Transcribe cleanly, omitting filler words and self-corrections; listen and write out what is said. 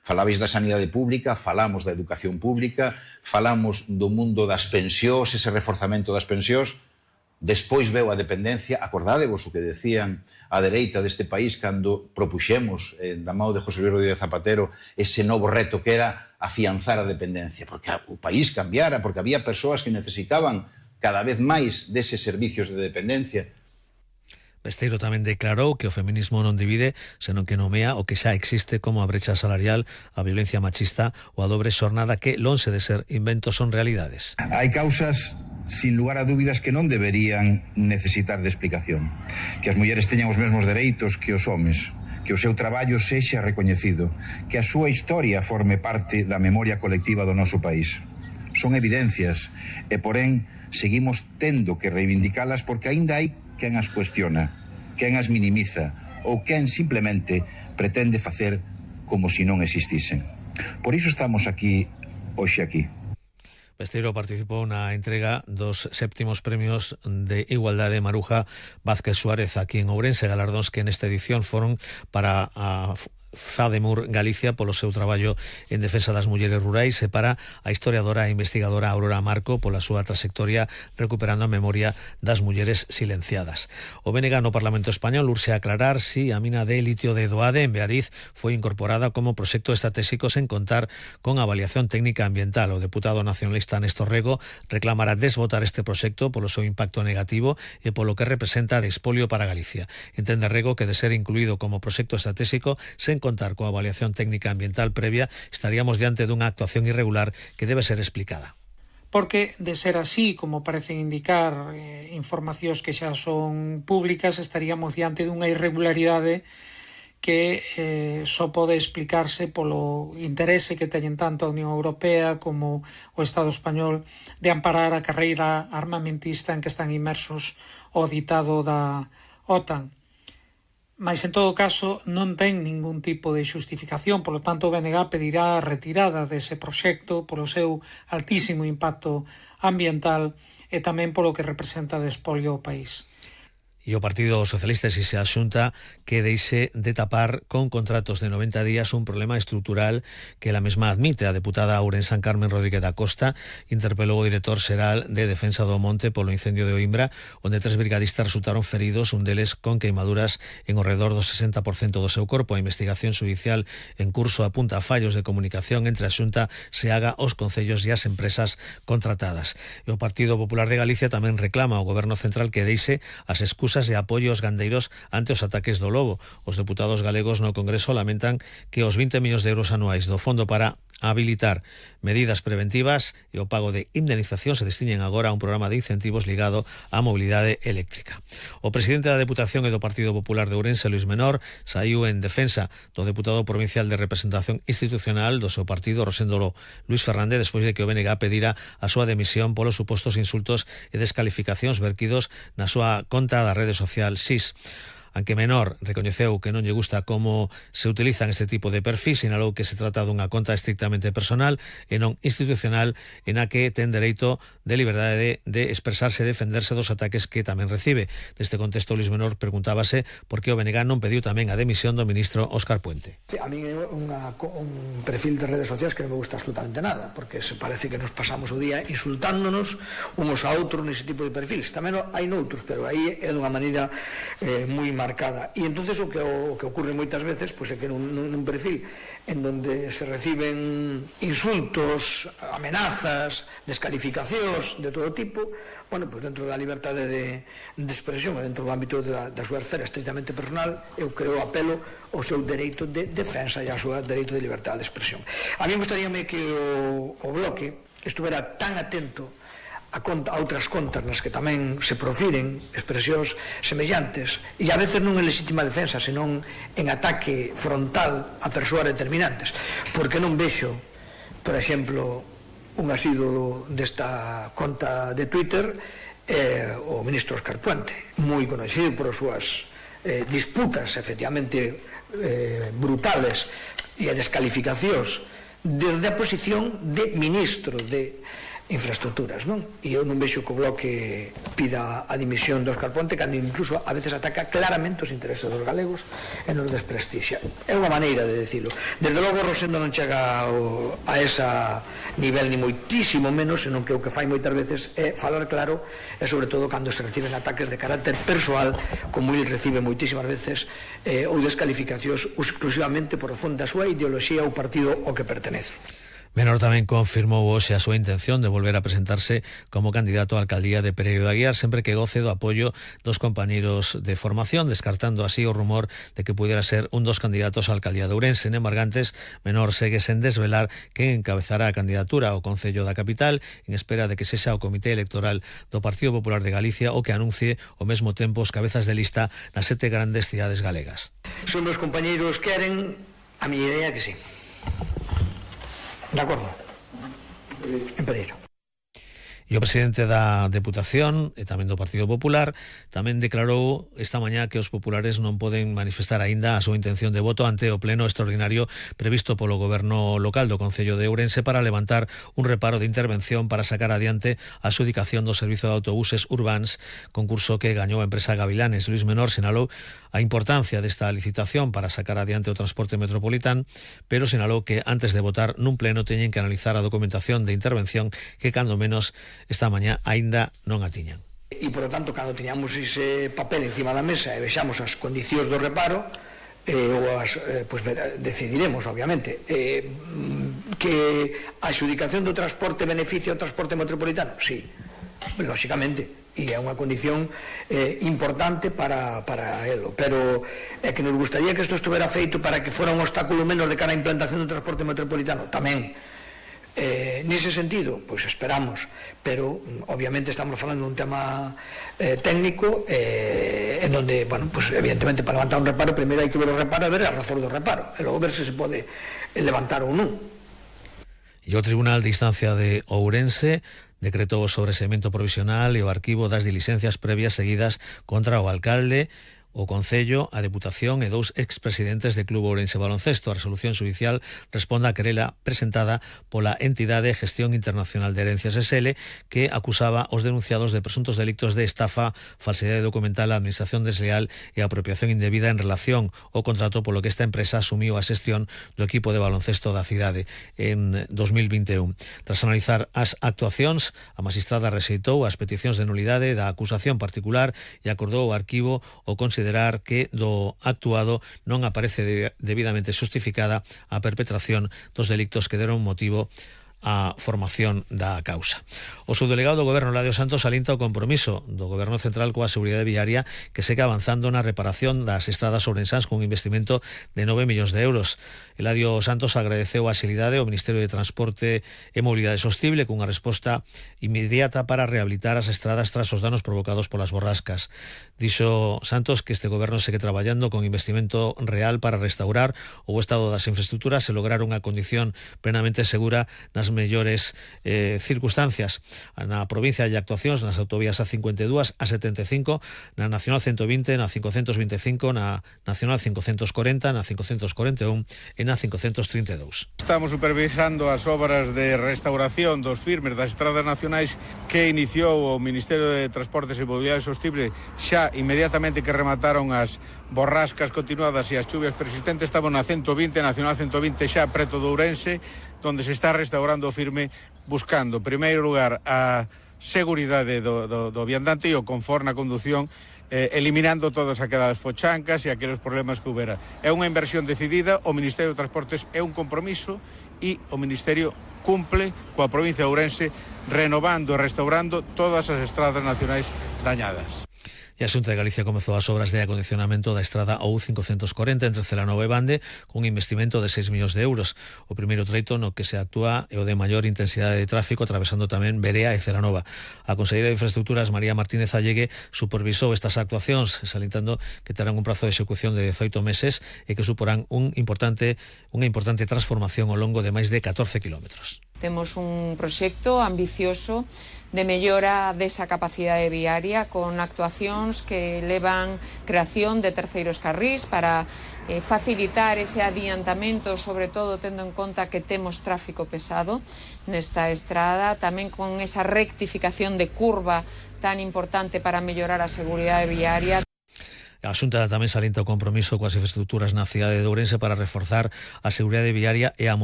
Falabais da sanidade pública, falamos da educación pública, falamos do mundo das pensións, ese reforzamento das pensións. Despois veu a dependencia. Acordádevos o que decían a dereita deste país cando propuxemos da mão de José Luis Rodríguez Zapatero ese novo reto que era afianzar a dependencia, porque o país cambiara, porque había persoas que necesitaban cada vez máis deses servicios de dependencia. Besteiro tamén declarou que o feminismo non divide, senón que nomea o que xa existe como a brecha salarial, a violencia machista ou a dobre xornada que, lonxe de ser inventos, son realidades. Hai causas, sin lugar a dúbidas, que non deberían necesitar de explicación. Que as mulleres teñan os mesmos dereitos que os homes, que o seu traballo sexa recoñecido, que a súa historia forme parte da memoria colectiva do noso país. Son evidencias e, porén, seguimos tendo que reivindicalas porque aínda hai quen as cuestiona, quen as minimiza ou quen simplemente pretende facer como se non existisen. Por iso estamos aquí, hoxe aquí. Besteiro participou na entrega dos 7º premios de Igualdade Maruja Vázquez Suárez aquí en Ourense, galardóns que nesta edición foron para a FADEMUR Galicia polo seu traballo en defensa das mulleres rurais e para a historiadora e investigadora Aurora Marco pola súa trayectoria recuperando a memoria das mulleres silenciadas. O BNG no Parlamento Español urxe aclarar si a mina de litio de Doade en Beariz foi incorporada como proxecto estratégico sen contar con avaliación técnica ambiental. O deputado nacionalista Néstor Rego reclamará desbotar este proxecto polo seu impacto negativo e polo que representa de expolio para Galicia. Entende Rego que de ser incluído como proxecto estratégico sen contar coa avaliación técnica ambiental previa, estaríamos diante dunha actuación irregular que debe ser explicada. Porque, de ser así, como parecen indicar informacións que xa son públicas, estaríamos diante dunha irregularidade que só pode explicarse polo interese que teñen tanto a Unión Europea como o Estado español de amparar a carreira armamentista en que están inmersos o ditado da OTAN. Mas, en todo caso, non ten ningún tipo de xustificación, polo tanto, o BNG pedirá a retirada dese proxecto polo seu altísimo impacto ambiental e tamén polo que representa de expolio ao país. E o Partido Socialista exixe á Xunta que deixe de tapar con contratos de 90 días un problema estrutural que la mesma admite. A deputada ourensan Carmen Rodríguez da Costa interpelou o director xeral de Defensa do Monte polo incendio de Oimbra, onde 3 brigadistas resultaron feridos, un deles con queimaduras en ao redor do 60% do seu corpo. A investigación judicial en curso apunta a fallos de comunicación entre a Xunta, SEAGA, os concellos e as empresas contratadas. E o Partido Popular de Galicia tamén reclama ao Goberno Central que deixe as excusas e apoio aos gandeiros ante os ataques do lobo. Os deputados galegos no Congreso lamentan que os 20 millóns de euros anuais do Fondo para habilitar medidas preventivas e o pago de indemnización se destinen agora a un programa de incentivos ligado á mobilidade eléctrica. O presidente da Deputación e do Partido Popular de Ourense, Luis Menor, saiu en defensa do deputado provincial de representación institucional do seu partido, Rosendo Luis Fernández, despois de que o BNG pedira a súa demisión polos supostos insultos e descalificacións verquidos na súa conta da rede social SIS. Aunque Menor recoñeceu que non lle gusta como se utilizan este tipo de perfil, sinalou que se trata dunha conta estrictamente personal e non institucional en a que ten dereito de liberdade de expresarse e defenderse dos ataques que tamén recibe. Neste contexto, Luis Menor preguntábase por que o BNG non pediu tamén a demisión do ministro Óscar Puente. A mí é un perfil de redes sociais que non me gusta absolutamente nada, porque se parece que nos pasamos o día insultándonos unos a outros nese tipo de perfils. Tamén hai noutros, pero aí é dunha maneira moi marcada. E entonces o que ocurre moitas veces pois é que nun perfil en donde se reciben insultos, amenazas, descalificacións de todo tipo, bueno, pois dentro da liberdade de expresión e dentro do ámbito da súa esfera estritamente personal, eu creo apelo ao seu dereito de defensa e ao seu dereito de liberdade de expresión. A mí gustaríame que o bloque estuvera tan atento a outras contas nas que tamén se profiren expresións semellantes e a veces non en legítima defensa, senón en ataque frontal a persoas determinantes, porque non vexo, por exemplo, un asido desta conta de Twitter o ministro Óscar Puente, moi conocido por as súas disputas efectivamente brutales e descalificacións desde a posición de ministro de infraestructuras, non? E eu non vexo que o Bloque pida a dimisión do Óscar Ponte, cando incluso a veces ataca claramente os intereses dos galegos e nos desprestixia. É unha maneira de decirlo. Desde logo Rosendo non chega a esa nivel ni moitísimo menos, senón que o que fai moitas veces é falar claro, e sobre todo cando se reciben ataques de carácter persoal, como ele recibe moitísimas veces, ou descalificacións exclusivamente por o fondo da súa ideoloxía ou partido ao que pertenece. Menor tamén confirmou hoxe a súa intención de volver a presentarse como candidato á alcaldía de Pereiro de Aguiar sempre que goce do apoio dos compañeiros de formación, descartando así o rumor de que pudiera ser un dos candidatos á alcaldía de Ourense. En Margantes, Menor segue sen desvelar quen encabezará a candidatura ao Concello da capital, en espera de que sexa o Comité Electoral do Partido Popular de Galicia o que anuncie ao mesmo tempo os cabezas de lista nas 7 grandes cidades galegas. Se os meus compañeiros queren, a miña idea que sí. De acordo. En Pereiro. E o presidente da Deputación e tamén do Partido Popular tamén declarou esta mañá que os populares non poden manifestar aínda a súa intención de voto ante o pleno extraordinario previsto polo goberno local do Concello de Ourense para levantar un reparo de intervención para sacar adiante a adxudicación do servizo de autobuses urbáns, concurso que gañou a empresa Gavilanes. Luís Menor sinalou a importancia desta licitación para sacar adiante o transporte metropolitano, pero sinalou que antes de votar nun pleno teñen que analizar a documentación de intervención que cando menos esta mañá aínda non a tiñan. E, por lo tanto, cando tiñamos ese papel encima da mesa e vexamos as condicións do reparo, pues decidiremos, obviamente, que a adxudicación do transporte beneficia o transporte metropolitano. Sí, lógicamente, e é unha condición importante para elo, pero é que nos gustaría que isto estuvera feito para que fora un obstáculo menos de cara á implantación do transporte metropolitano, tamén. Nese sentido, pois esperamos, pero obviamente estamos falando dun tema técnico en donde, bueno, pues evidentemente para levantar un reparo primeiro hai que ver o reparo e ver a razón do reparo e logo ver se pode levantar ou non. E o Tribunal de Instancia de Ourense decretou o sobreseimento provisional e o arquivo das diligencias previas seguidas contra o alcalde, o Concello, a Deputación e 2 expresidentes de Club Ourense Baloncesto. A resolución judicial responde á querela presentada pola entidade Gestión Internacional de Herencias SL, que acusaba os denunciados de presuntos delictos de estafa, falsidade documental, administración desleal e apropiación indebida en relación ao contrato polo que esta empresa asumiu a xestión do equipo de baloncesto da cidade en 2021. Tras analizar as actuacións, a magistrada rexeitou as peticións de nulidade da acusación particular e acordou o arquivo o considerar que do actuado non aparece debidamente xustificada a perpetración dos delictos que deron motivo a formación da causa. O subdelegado do Goberno, Eladio Santos, alinta o compromiso do Goberno Central coa seguridade viaria que segue avanzando na reparación das estradas ourensás cun investimento de 9 millóns de euros. Eladio Santos agradeceu a axilidade ao Ministerio de Transporte e Mobilidade Sostible cunha resposta inmediata para rehabilitar as estradas tras os danos provocados polas borrascas. Dixo Santos que este Goberno segue traballando con investimento real para restaurar o estado das infraestructuras e lograr unha condición plenamente segura nas mellores circunstancias. Na provincia hai actuacións nas autovías A52, A75, na Nacional 120, na 525, na Nacional 540, na 541 e na 532. Estamos supervisando as obras de restauración dos firmes das estradas nacionais que iniciou o Ministerio de Transportes e Mobilidade Sostible xa inmediatamente que remataron as borrascas continuadas e as chuvias persistentes. Estamos na 120, Nacional 120 xa preto do Ourense, donde se está restaurando o firme buscando, en primeiro lugar, a seguridade do viandante e o confort na condución, eliminando todas aquelas fochancas e aqueles problemas que houbera. É unha inversión decidida, o Ministerio de Transportes é un compromiso e o Ministerio cumple coa provincia de Ourense renovando e restaurando todas as estradas nacionais dañadas. E a Xunta de Galicia comezou as obras de acondicionamento da estrada OU540 entre Celanova e Bande cun investimento de 6 millóns de euros. O primeiro treito no que se actúa é o de maior intensidade de tráfico, atravesando tamén Berea e Celanova. A conselleira de Infraestructuras, María Martínez Allegue, supervisou estas actuacións, salientando que terán un prazo de execución de 18 meses e que suporán unha importante transformación ao longo de máis de 14 kilómetros. Temos un proxecto ambicioso de mellora desa capacidade viaria con actuacións que levan creación de terceiros carrís para facilitar ese adiantamento, sobre todo tendo en conta que temos tráfico pesado nesta estrada, tamén con esa rectificación de curva tan importante para mellorar a seguridade viaria. A Xunta tamén salienta o compromiso coas infraestructuras na cidade de Ourense para reforzar a seguridade viaria e a